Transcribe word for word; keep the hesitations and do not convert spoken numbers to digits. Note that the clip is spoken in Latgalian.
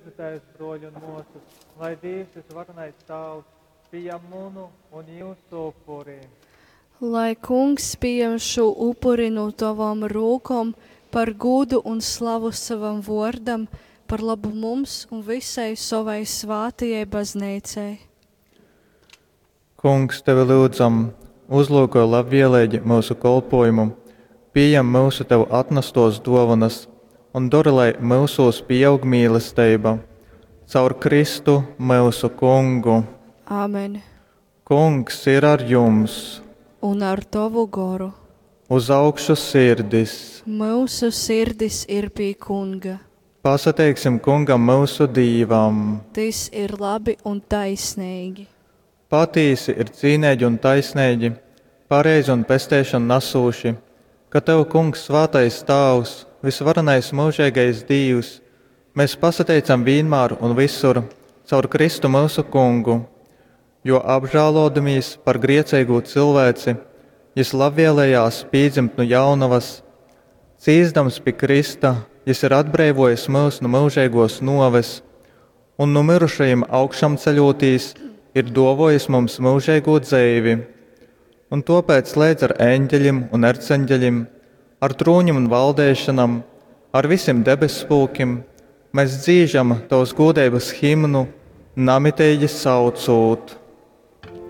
Lyudzu tevis, bruoļi un muosys, lai Dīvs vysvarenais Tāvs pījam munu un jūsu upuri. Lai Kungs pījam šū upuri no tavom rūkom par gūdu un slavu savam vōrdam, par labu mums un visai sovai svātajai bazneicai. Kungs, tevi lyudzam, uzlyukoj labvieleigi myusu kolpōjumu, pījem myusu tev atnastōs dōvonas un dori, lai myusūs pīaug mīlesteiba. Caur Kristu, myusu Kungu. Āmen. Kungs ir ar jums! Un ar tovu goru. Uz augšu sirdis! Myusu sirdis ir pie Kunga. Pasateiksim Kungam myusu Dīvam! Tys ir labi un taisneigi. Patīsi ir cīneigi un taisneigi, pareizi un pesteišonu nasūši, ka tev, Kungs, svātais Tāvs, vysvarenais myužeigais Dīvs, mēs pasateicam vīnmār un vysur caur Kristu myusu Kungu, jo apžālōdamīs par grieceigū cilvēci, jys labvēlējās pīdzimt nu jaunovas. Cīsdams pi krysta, jys ir atbreivōjis myus nu myužeigōs nōves un nu myrušajim augšamceļūtīs ir dōvōjis mums myužeigū dzeivi. Un tōpēc leidz ar eņģeļim un erceņģeļim, ar trūņim un valdeišanam, ar visim debesspulkim, mēs dzīžam tovas gūdeibas himnu, namiteigi saucūt.